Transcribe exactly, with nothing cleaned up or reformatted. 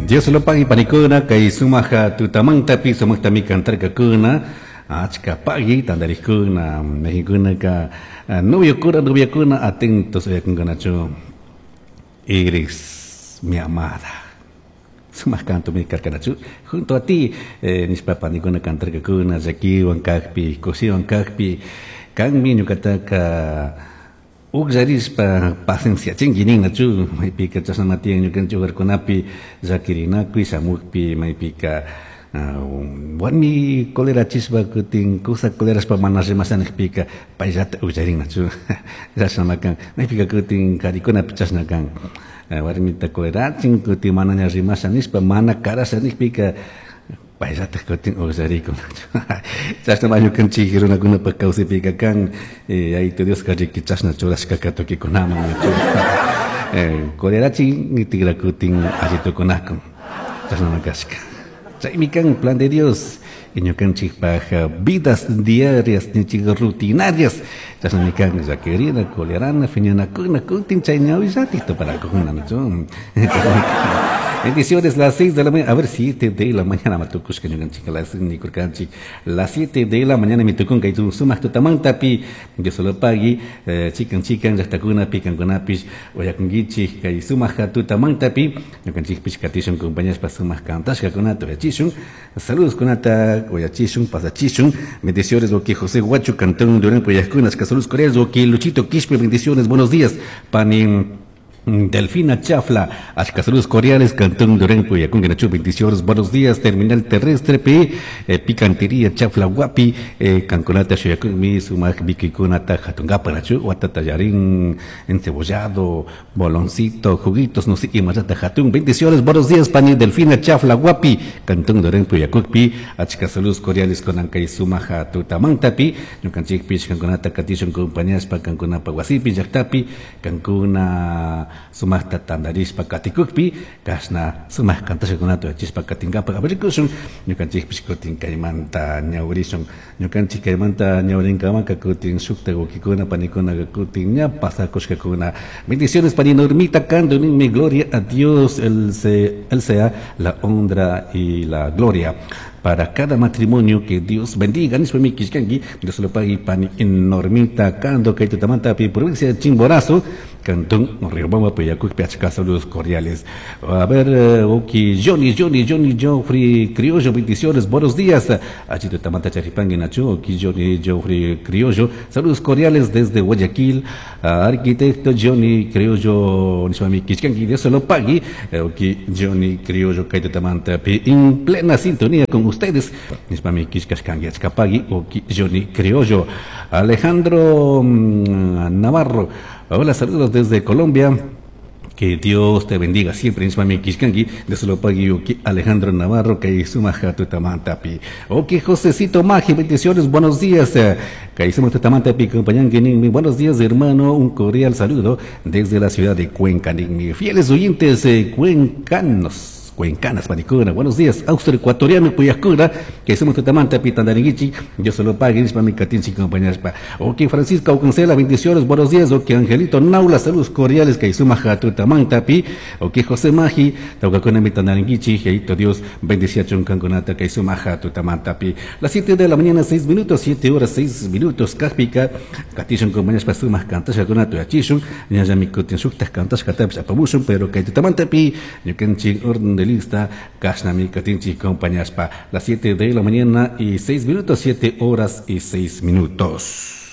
Dios lo pague panikuna kay sumaja tutamantapi sumaqtami kantarkakuna achka pagui tantarikuna Mexikunaka noviokuna noviakuna atentos uyakunkunachu eres mi amada sumaq canto mi karkanachu junto a ti eh, nishpa panikuna kantarkakuna llakiwan kaqpi kushiwan kaqpi kanmi ñuqataka Uqllarispa pacienciachinki ninnachu maypika chashnama tiyan ñukanchik hogarkunapi llakirinakuy shamukpi maypika warmi colerachishpa kutin kusa colerashpa mana rimasha nijpika payllata uqllarinnachu chashnama kan maypika kutin karikunapi chashna kan warmita colerachin kutin manaña rimasha nishpa mana karasha nijpika payllataj kutin uqllarikunachu chashnama ñukanchik runakunapak kawsaypika kan Yayitu Dioska riki chashna churashkaka tukikunaman colerachin tikrakutin alli tukunakun chashnama kashka chaymi kan plan de Dios ñukanchikpaj vidas diarias ninchik rutinarias chashnami kan llakirina colerana phiñanakuna kutin chay ñawillatik tuparakujuna nachu. Bendiciones, las seis de la mañana, a ver, siete de la mañana, matukushka ñukanchik, las nikurkanchik, las siete de la mañana mi tukun kay sumaq tutamantapi, Dios lo pagui, eh, chikan chikan llaqtakunapi kankunapish uyakunkichik kay sumaq tutamantapi, ñukanchikpish katishun compañaspa sumaq kantashkakunata uyachishun, saludos kunata uyachishun, pasachishun, bendiciones, oki José Guacho, Cantón Durán Puyaskunas, saludos cordiales, oki Luchito Quispe, bendiciones, buenos días, panin Delfina Chafla, achka saludos cordiales, Cantón Durán Puyacunguenachu, bendiciones, buenos días, Terminal Terrestre, P, eh, Picantería Chafla Guapi, eh, Cancunata Shuyacunmi, Sumac Viquikunata, Hatungapanachu, Huatatayarín, encebollado, boloncito, juguitos, no sé, y Mayata Hatun, bendiciones, buenos días, Pani Delfina Chafla Guapi, Cantón Durán Puyacunpi, achka saludos cordiales con Ancay Sumaja Tutamantapi, Ñukanchikpich, Cancunata Katishun, compañías, pa Cancunapa Guasipi, Yactapi, Cancuna sumaqta tantarishpa katikukpi kashna sumaq kantashkakunata uyachispa katinkapak aparikushun ñukanchikpish kutin kaymanta ñawrishun ñukanchik kaymanta ñawrinkamaka kutin shukta wawkikuna panikuna kutin ña pasakushkakuna. Bendiciones pani Normita Cando ninmi gloria a Dios, él, se, él sea la honra y la gloria para cada matrimonio, que Dios bendiga. Nishpa mi kishkanki, Dios lo pague pani Normita Cando kay tutamanta pi provincia de Chimborazo, Cantón Riobamba, Puyacuk, achka saludos cordiales. A ver, oki Johnny, Johnny, Johnny, Joffrey Criollo, bendiciones, buenos días. Achito tamanta charipangui nacho, oki Johnny, Joffrey Criollo, saludos cordiales desde Guayaquil. Arquitecto Johnny Criollo, nishpami kishkanki, Dios lo pague. Oki Johnny Criollo, kay tutamanta pi en plena sintonía con ustedes. Nishpami kishkashkanki, achka pagui, oki Johnny Criollo. Alejandro mmm, Navarro, hola, saludos desde Colombia. Que Dios te bendiga siempre, nishpami kishkanki, Dios lo pague, oki Alejandro Navarro, que sumaja tutamantapi. Oki Josecito Maji, bendiciones, buenos días. Que suma tutamantapi, compañanki ninmi, buenos días, hermano, un cordial saludo desde la ciudad de Cuenca, ninmi. Fieles oyentes eh, cuencanos. Cuencanas, panicuna, buenos días, austro ecuatoriano, Puyascura, que somos tutamanta, pitandaringuichi, yo solo pague, mi catinchi, compañeros, pa. Ok, Francisco Aucancela, bendiciones, buenos días, ok, Angelito Naula, saludos cordiales, que suma tutamanta, pi, ok, José Maji, taucacuna, mitandaringuichi, jeito Dios, bendicia chuncanconata, que suma tutamanta, pi. Las siete de la mañana, seis minutos, siete horas, seis minutos, caspica, catishun, compañeros, pa, sumas, cantasha, conato, achishun, ñayami, cutin, suctas, cantasha, catapis, apamushun, pero que tutamanta, pi, ñucanchi, orden de lista, kashnami katinchi compañaspa, las siete de la mañana y seis minutos, siete horas y seis minutos.